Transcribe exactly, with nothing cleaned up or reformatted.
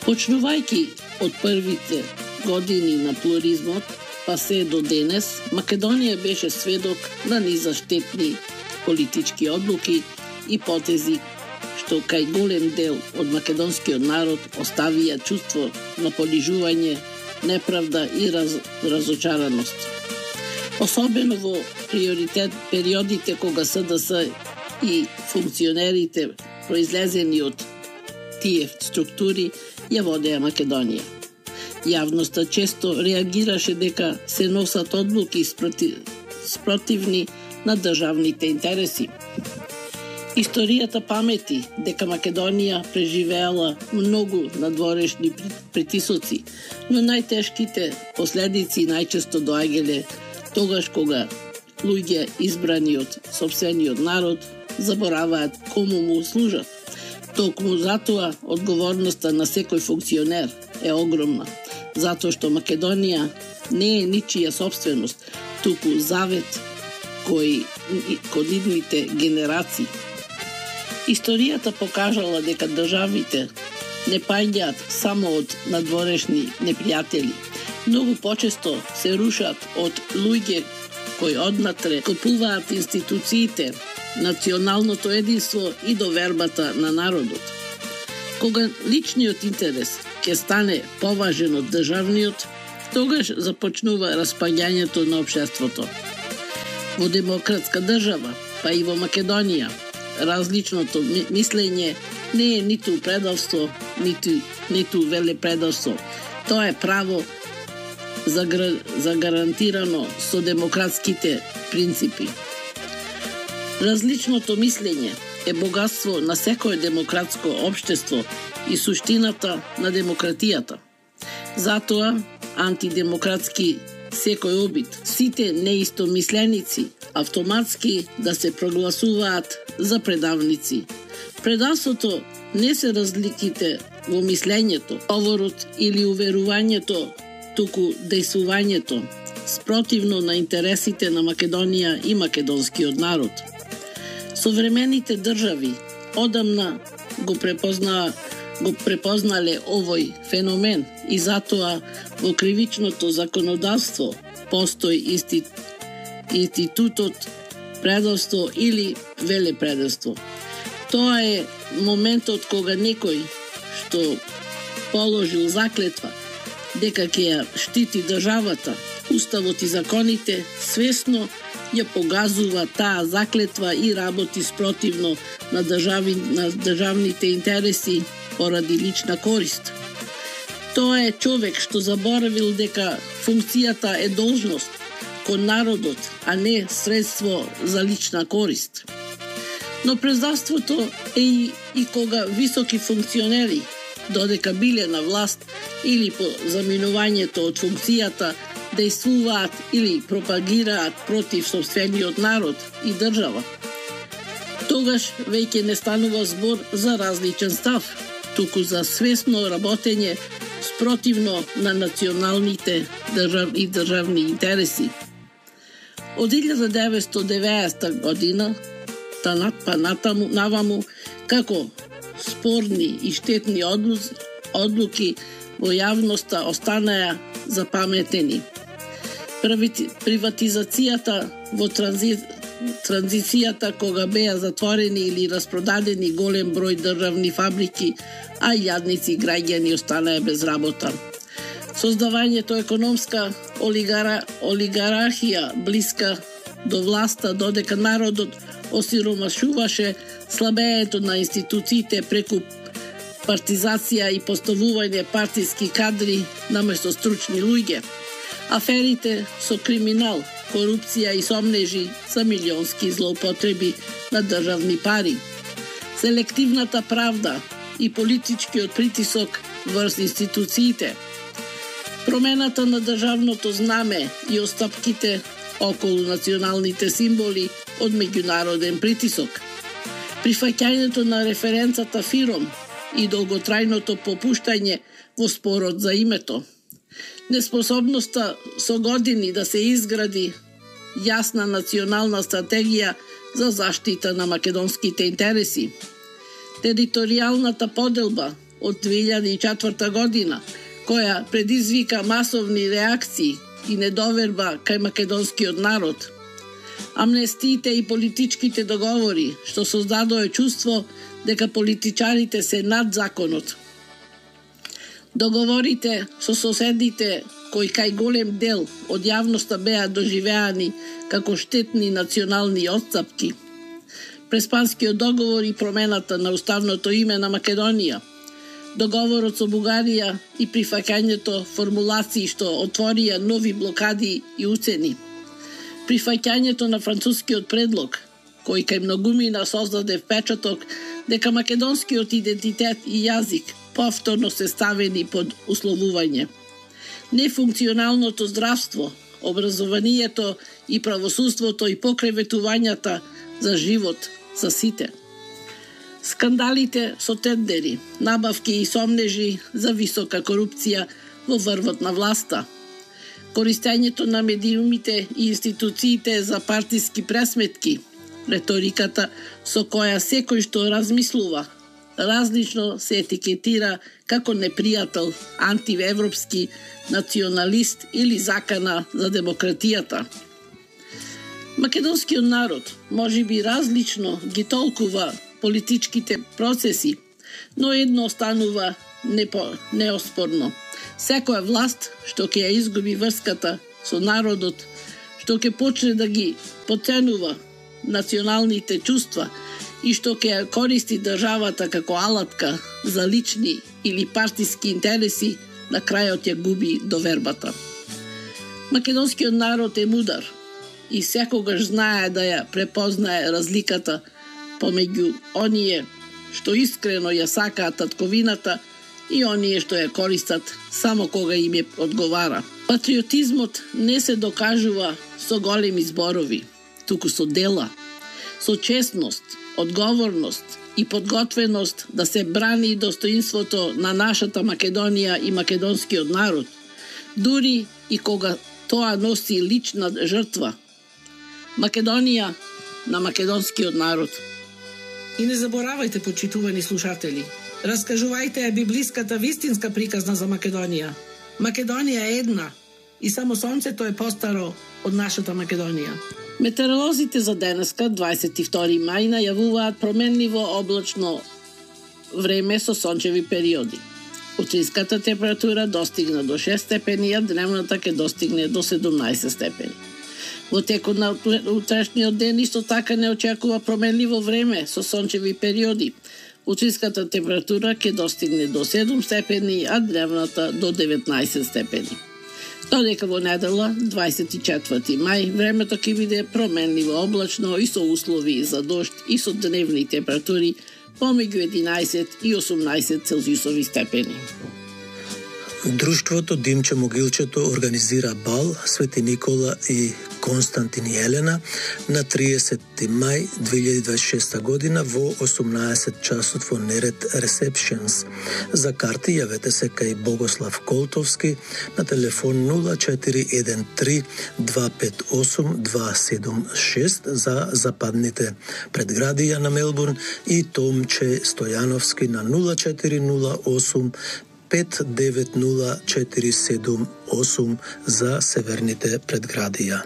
Почнувајќи од првите години на плуризмот, па се до денес, Македонија беше сведок на низа штетни политички одлуки и потези, што кај голем дел од македонскиот народ оставија чувство на понижување, неправда и раз, разочараност. Особено во приоритет периодите кога СДС и функционерите произлезени од тие структури ја водеа Македонија. Јавноста често реагираше дека се носат одлуки спротивни на државните интереси. Историјата памети дека Македонија преживеала многу надворешни притисоци, но најтешките последици најчесто доаѓале тогаш кога луѓе избрани од сопствениот народ забораваат кому му служат. Токму затоа одговорноста на секој функционер е огромна, затоа што Македонија не е ничија собственост, туку завет кој код идните генерации. Историјата покажала дека државите не паѓаат само од надворешни непријатели. Многу почесто се рушат од луѓе кои однатре купуваат институциите, националното единство и довербата на народот. Кога личниот интерес ќе стане поважен од државниот, тогаш започнува распаѓањето на општеството. Во демократска држава, па и во Македонија, различното мислење не е ниту предавство, ниту, ниту велепредавство. Тоа е право загарантирано со демократските принципи. Различното мислење е богатство на секое демократско општество и суштината на демократијата. Затоа, антидемократски секој обид, сите неистомисленици автоматски да се прогласуваат за предавници. Предавството не се разликите во мислењето, говорот или уверувањето, туку дејствувањето, спротивно на интересите на Македонија и македонскиот народ. Современите држави одамна го препозна го препознале овој феномен и затоа во кривичното законодавство постои институт институтот предавство или велепредавство. Тоа е моментот кога некој што положил заклетва дека ќе ја штити државата, уставот и законите, свесно ја погазува таа заклетва и работи спротивно на држави на државните интереси поради лична корист. Тоа е човек што заборавил дека функцијата е должност кон народот, а не средство за лична корист. Но предавството е и, и кога високи функционери, додека биле на власт или по заминувањето од функцијата, дејствуваат или пропагираат против сопствениот народ и држава. Тогаш веќе не станува збор за различен став, туку за свесно работење спротивно на националните држав и државни интереси. Од илјада деветстотини и деветдесета година танат па натаму наваму како спорни и штетни одлуки, одлуки во јавноста останаа запаметени. Приватизацијата во транзи... транзицијата кога беа затворени или распродадени голем број државни фабрики, а јадници граѓани останаа без работа. Создавањето економска олигара... олигархија блиска до власта, додека народот осиромашуваше, слабењето на институциите преку партизација и поставување партиски кадри наместо стручни луѓе. Аферите со криминал, корупција и сомнежи за милионски злоупотреби на државни пари. Селективната правда и политичкиот притисок врз институциите. Промената на државното знаме и остапките околу националните символи од меѓународен притисок. Прифаќањето на референцата ФИРОМ и долготрајното попуштање во спорот за името. Неспособноста со години да се изгради јасна национална стратегија за заштита на македонските интереси. Територијалната поделба од две илјади и четврта година, која предизвика масовни реакции и недоверба кај македонскиот народ. Амнестиите и политичките договори што создадоа чувство дека политичарите се над законот. Договорите со соседите кои кај голем дел од јавноста беа доживеани како штетни национални отстапки. Преспанскиот договор и промената на уставното име на Македонија, договорот со Бугарија и прифаќањето формулации што отворија нови блокади и уцени, прифаќањето на францускиот предлог, кој кај многумина создаде впечаток дека македонскиот идентитет и јазик повторно се ставени под условување, нефункционалното здравство, образованието и правосудството и покреветувањата за живот за сите. Скандалите со тендери, набавки и сомнежи за висока корупција во врвот на власта, користењето на медиумите и институциите за партиски пресметки, реториката со која секој што размислува различно се етикетира како непријател, антиевропски, националист или закана за демократијата. Македонскиот народ може би различно ги толкува политичките процеси, но едно останува непо, неоспорно. Секоја власт што ќе ја изгуби врската со народот, што ќе почне да ги потценува националните чувства и што ќе ја користи државата како алатка за лични или партиски интереси, на крајот ја губи довербата. Македонскиот народ е мудар и секогаш знае да ја препознае разликата помеѓу оние што искрено ја сакаат татковината и оние што ја користат само кога им е одговара. Патриотизмот не се докажува со големи зборови, туку со дела, со честност, одговорност и подготвеност да се брани достоинството на нашата Македонија и македонскиот народ, дури и кога тоа носи лична жртва. Македонија на македонскиот народ. И не заборавајте, почитувани слушатели, раскажувајте ја библиската вистинска приказна за Македонија. Македонија е една и само сонцето е постаро од нашата Македонија. Метеоролозите за денеска, дваесет и втори мај, најавуваат променливо облачно време со сончеви периоди. Утринската температура достигна до шест степени, а дневната ќе достигне до седумнаесет степени. Во текот на утрешниот ден исто така не очекува променливо време со сончеви периоди. Утринската температура ќе достигне до седум степени, а дневната до деветнаесет степени. Додека во недела, дваесет и четврти мај, времето ќе биде променливо облачно и со услови за дожд и со дневни температури помеѓу единаесет и осумнаесет целзиусови степени. Друштвото Димче Могилчето организира бал Свети Никола и Константин и Елена на триесетти мај две илјади дваесет и шеста година во осумнаесет часот во Неред Ресепшенс. За карти јавете се кај Богослав Колтовски на телефон нула четири еден три два пет осум два седум шест за западните предградија на Мелбурн и Томче Стојановски на нула четири нула осум пет девет нула четири седум осум за северните предградија.